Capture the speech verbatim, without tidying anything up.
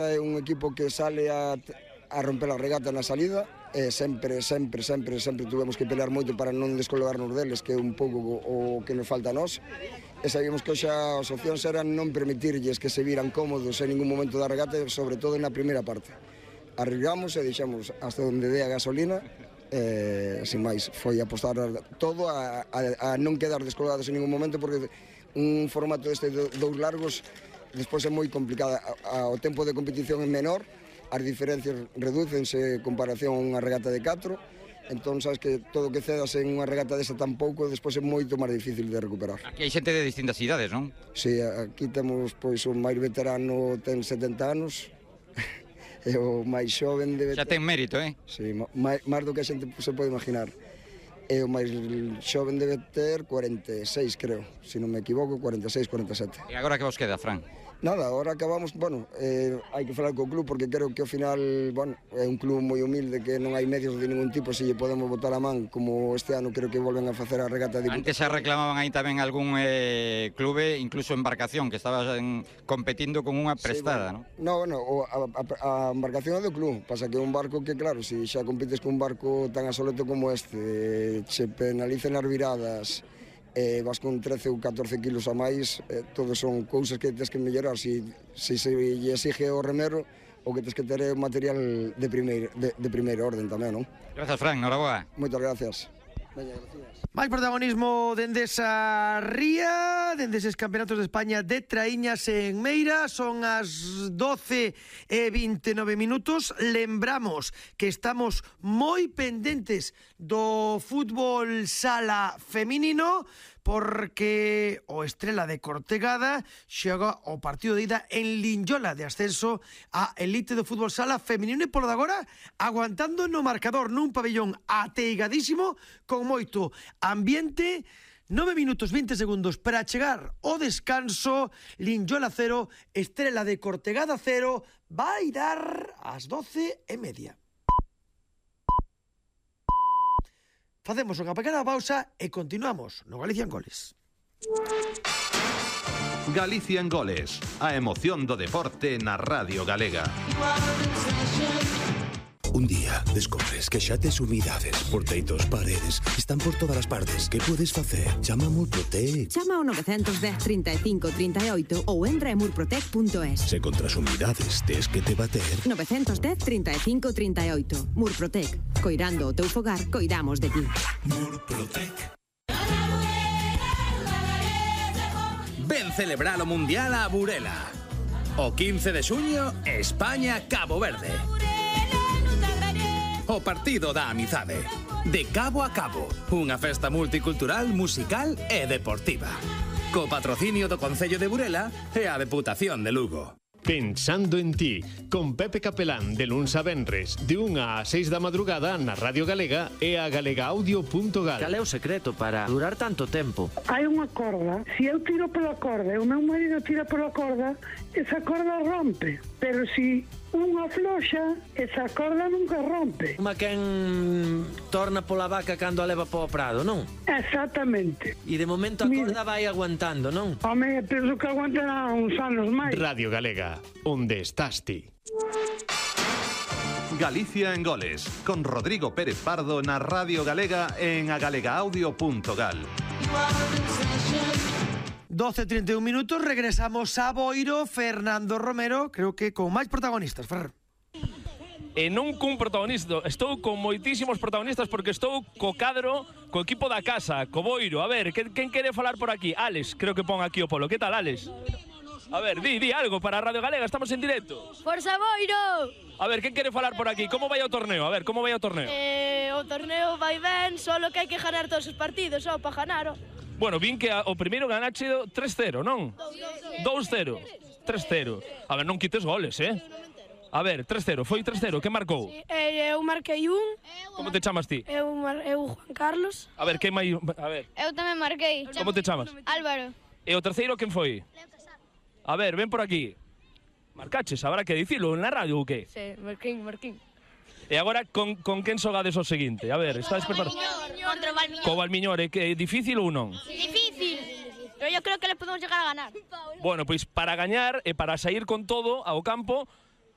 É un equipo que sale a, a romper a regata na salida, e sempre, sempre, sempre, sempre tuvemos que pelear moito para non descolgarnos deles, que é un pouco o que nos falta a nós. E sabíamos que xa as opcións eran non permitirlles que se viran cómodos en ningún momento da regata, sobre todo na primeira parte. Arribamos e deixamos hasta onde dé a gasolina, e, sin máis, foi apostar todo a, a, a non quedar descolgados en ningún momento, porque un formato deste dous largos despois é moi complicada. O tempo de competición é menor, as diferencias redúcense en comparación a unha regata de catro, entón sabes que todo o que cedas en unha regata desa tan pouco despois é moito máis difícil de recuperar. Aquí hai xente de distintas idades, non? Si, sí, aquí temos pois o máis veterano ten setenta anos e o máis xoven debe ter... Xa ten mérito, eh? Si, sí, máis, máis do que a xente se pode imaginar. E o máis xoven debe ter cuarenta e seis, creo, se non me equivoco, cuarenta e seis, cuarenta e sete. E agora que vos queda, Fran? Nada, agora acabamos, bueno, eh, hai que falar co club porque creo que ao final, bueno, é un club moi humilde que non hai medios de ningún tipo, se lle podemos botar a man, como este ano creo que volven a facer a regata de... Antes se reclamaban aí tamén algún eh, clube, incluso embarcación, que estaba en, competindo con unha prestada, sí, bueno, non? No, bueno, o, a, a, a embarcación é do club, pasa que é un barco que, claro, se xa compites con un barco tan asoleto como este, se penalicen as viradas, eh, vas con trece ou catorce kilos a máis, eh, todos son cousas que tens que mellorar. Si, si se lle exige o remero, o que tens que ter é material de primeiro, de, de primeiro orden tamén, non? Grazas, Fran, noraboa. Moitas gracias. Veña, gracias. Máis protagonismo dende esa ría, dende eses campeonatos de España de traíñas en Meira. Son as doce e vinte e nove minutos. Lembramos que estamos moi pendentes do fútbol sala feminino, porque o Estrela de Cortegada xoga o partido de ida en Linyola de ascenso a elite do fútbol sala feminino, e polo de agora aguantando no marcador nun pabellón ateigadísimo con moito ambiente. Nove minutos vinte segundos para chegar ao descanso. Linyola cero, Estrela de Cortegada cero. Vai dar as doce e media. Facemos unha pequena pausa e continuamos no Galicia en Goles. Galicia en Goles, a emoción do deporte na Radio Galega. Un día descobres que xa tes humidades por teitos, paredes, están por todas as partes. Que podes facer? Chama a Murprotec. Chama ao nove un cero, trinta e cinco, trinta e oito ou entra en murprotec punto es. Se contra as humidades tes que te bater. nove un cero, trinta e cinco, trinta e oito. Murprotec. Coirando o teu fogar, coidamos de ti. Murprotec. Ven celebrar o Mundial a Burela. O quince de xuño, España-Cabo Verde. O partido da amizade. De cabo a cabo, unha festa multicultural, musical e deportiva. Co patrocinio do Concello de Burela e a Deputación de Lugo. Pensando en ti, con Pepe Capelán, de luns a venres, de unha a seis da madrugada na Radio Galega e a galegaudio punto gal. Cal é o secreto para durar tanto tempo? Hai unha corda, se eu tiro pola corda e o meu marido tira pola corda, esa corda rompe, pero se unha floxa, esa corda nunca rompe. Uma quen torna pola vaca cando a leva po prado, non? Exactamente. E de momento a corda vai aguantando, non? Home, penso que aguantará uns anos máis. Radio Galega, onde estás ti? Galicia en Goles, con Rodrigo Pérez Pardo na Radio Galega en a galegaudio punto gal. doce e trinta e un minutos, regresamos a Boiro. Fernando Romero, creo que con máis protagonistas, Fer. E non cun protagonista, estou con moitísimos protagonistas porque estou co cadro, co equipo da casa, co Boiro. A ver, quen, quen quere falar por aquí? Alex, creo que pon aquí o polo. Que tal, Alex? A ver, di, di algo para Radio Galega, estamos en directo. Forza Boiro! A ver, quen quere falar por aquí? Como vai o torneo? A ver, como vai o torneo? Eh, o torneo vai ben, solo que hai que ganar todos os partidos, só para ganar. Bueno, vin que a, o primeiro ganache tres cero, non? dous cero. tres cero. A ver, non quites goles, eh? A ver, tres cero, foi tres cero, que marcou? Sí, eu marquei un. Como te chamas ti? Eu, eu Juan Carlos. A ver, que máis... A ver. Eu tamén marquei. Como te chamas? Álvaro. E o terceiro quen foi? A ver, ven por aquí. Marcaches, habrá que dicilo na radio ou que? Sí, marquín, marquín. E agora, con, con quen xogades o seguinte? A ver, estás preparado? Contra o Valmiñor. Co Valmiñor, é que é difícil ou non? Difícil, pero yo creo que le podemos llegar a ganar. Bueno, pois para gañar e para sair con todo ao campo,